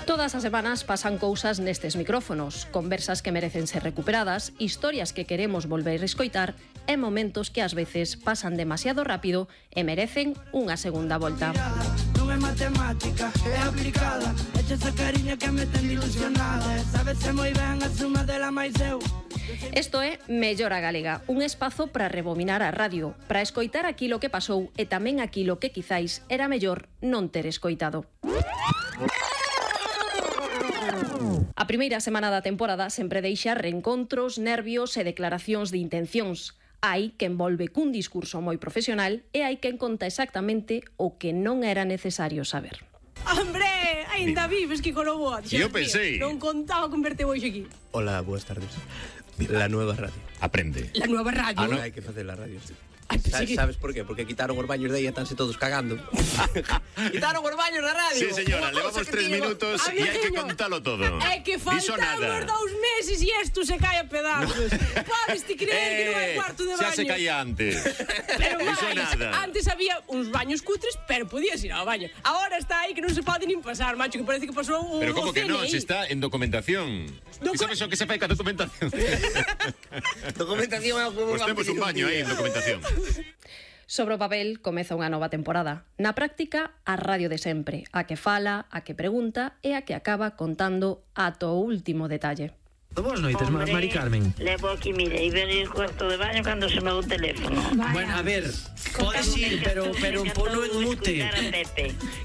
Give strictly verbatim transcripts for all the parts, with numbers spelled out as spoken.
Todas as semanas pasan cousas nestes micrófonos, conversas que merecen ser recuperadas, historias que queremos volver a escoitar e momentos que ás veces pasan demasiado rápido e merecen unha segunda volta. Non é matemática, é aplicada. Echa esa cariña que me ten ilusionada. Sabese moi ben a suma dela máis eu. Isto é Mellora Galega, un espazo para rebobinar a radio, para escoitar aquilo que pasou e tamén aquilo que quizáis era mellor non ter escoitado. A primeira semana da temporada sempre deixa reencontros, nervios e declaracións de intencións. Hai quen volve cun discurso moi profesional e hai quen conta exactamente o que non era necesario saber. Hombre, ainda vives, Kiko Lobo. Yo pensei. Non contaba con verte hoxe aquí. Hola, buenas tardes. La nueva radio. Aprende. La nueva radio. Ah, no, hai que facer la radio, sí. Ay, Sa- sí. Sabes por qué? Porque quitaron os baños de aí e estánse todos cagando. Quitaron os baños da radio. Sí, señora, Unha levamos cousa que tres digo, minutos a y hay que veciño. contarlo todo. É que Diso faltamos nada. dous meses e isto se cae a pedazos. Podes ti creer que non hai Eh, cuarto de xa baño? se caía antes. Pero Diso máis, nada. antes había uns baños cutres, pero podías ir ao baño. Agora está aí que non se pode nin pasar, macho, que parece que pasou o Pero como o que C N no, I. se está en documentación. Docu- ¿Y sabes o que se fai ca documentación? Documentación é o que Pues temos un baño aí en documentación. Sobre o papel comeza unha nova temporada. Na práctica, a radio de sempre, a que fala, a que pregunta e a que acaba contando ata o último detalle. Boas noites, Hombre, Mari Carmen. Levo aquí, mire, e ver el cuarto de baño cando se me o teléfono. Bueno, a ver, podes ir, pero pero ponlo en mute.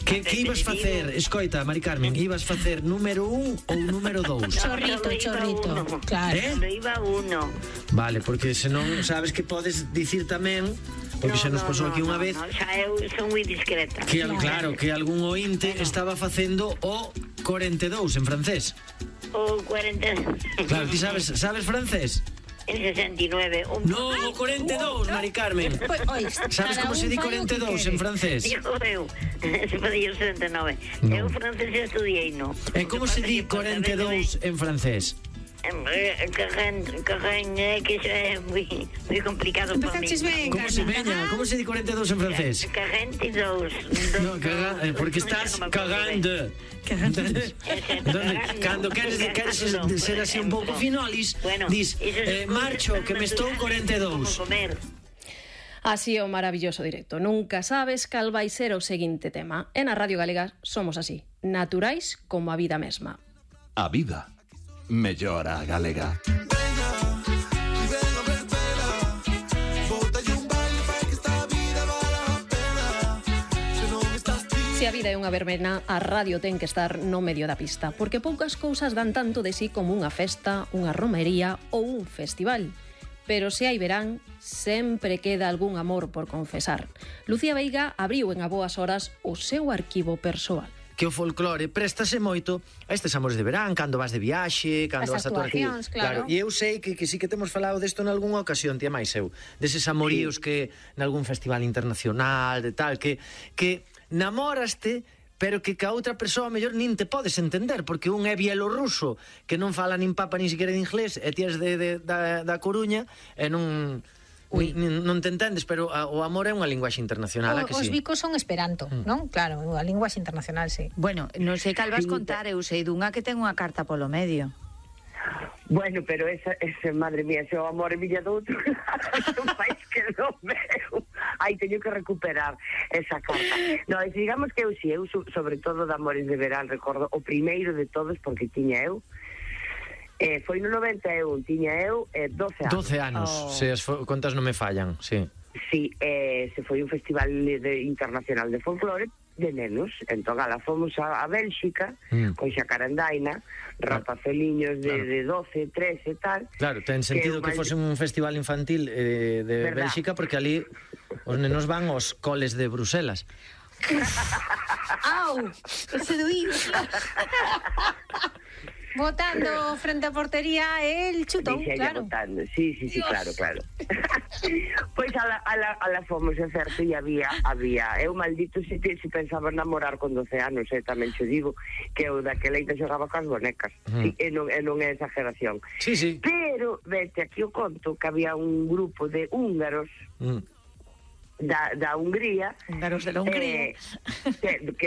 Que que ibas facer? Escoita, Mari Carmen, ibas facer número un ou número dous? Chorrito, chorrito. Claro. Eh? Cando iba uno. Vale, porque senón sabes que podes dicir tamén, porque xa nos pasou aquí unha vez, No, xa eu son moi discreta. que al- claro, que algún ointe estaba facendo o corenta e dous en francés. O cuarenta... Claro, ti sabes, sabes francés? En sesenta e nueve. Un... No, o corenta e dous, Mari Carmen. Sabes como se di corenta e dous en francés? Digo eu, se podía o setenta e nove. No. Eu francés estudiei, no. E como se di corenta e dous en francés? Carren, carren, é que xa é moi, moi complicado para mí. Empezaches ben, Como se veña? Como se di corenta e dous en francés? Carrente e dous. No, caga, eh, porque estás cagando. Entonces, cando queres, queres ser así un pouco finolis, Bueno, dis, iso eh, é marcho, que me estou corenta e dous. Como comer. Así é o maravilloso directo. Nunca sabes cal vai ser o seguinte tema. E na Radio Galega somos así, naturais como a vida mesma. A vida mellora galega. Se a vida é unha verbena, a radio ten que estar no medio da pista, porque poucas cousas dan tanto de sí como unha festa, unha romería ou un festival. Pero se hai verán, sempre queda algún amor por confesar. Lucía Veiga abriu en a boas horas o seu arquivo persoal. Que o folclore préstase moito a estes amores de verán, cando vas de viaxe, cando As vas a tocar aquí. actuacións, claro. E eu sei que, que sí que temos falado desto en algunha ocasión, tía máis eu, deses amoríos sí. que nalgún festival internacional, de tal, que que namoraste, pero que ca outra persoa mellor nin te podes entender, porque un é bielorruso, que non fala nin papa nin siquiera de inglés, e ti és de, de, da, da Coruña, e non... Ui. Non te entendes, pero a, o amor é unha linguaxe internacional, a que Os sí? bicos son esperanto, Mm. non? Claro, a linguaxe internacional, sí. Bueno, non sei cal vas contar, eu sei dunha que ten unha carta polo medio. Bueno, pero esa, esa madre mía, se o amor é milla do outro, non fais que do meu. Ai, teño que recuperar esa carta. No, es, digamos que eu si, eu sobre todo de amores de verán, recordo o primeiro de todos, porque tiña eu, Eh, foi no noventa e un, tiña eu eh, doce anos. doce anos, oh. Se as contas non me fallan, sí. Sí, eh, se foi un festival de, internacional de folclore de nenos. Entón, ala, fomos a, a Bélxica, mm. con Xacarandaina, rapazeliños de, claro. de doce, trece e tal. Claro, ten sentido que, que fose un festival infantil eh, de ¿verdad? Bélxica, porque ali os nenos van aos coles de Bruselas. Au, ese doído. Botando frente a portería el chutón, claro. Botando. Sí, sí, sí, Dios. claro, claro. Pois pues a la, a, la, a la fomos, é certo, e había, había, eu maldito se, se pensaba namorar con doce anos, eh, tamén xe digo, que eu daquela ita xogaba cas bonecas, mm. sí, e, non, e non é exageración. Sí, sí. Pero, vete, aquí o conto que había un grupo de húngaros, mm. da, da Hungría. Húngaros de la Hungría. Eh, que, que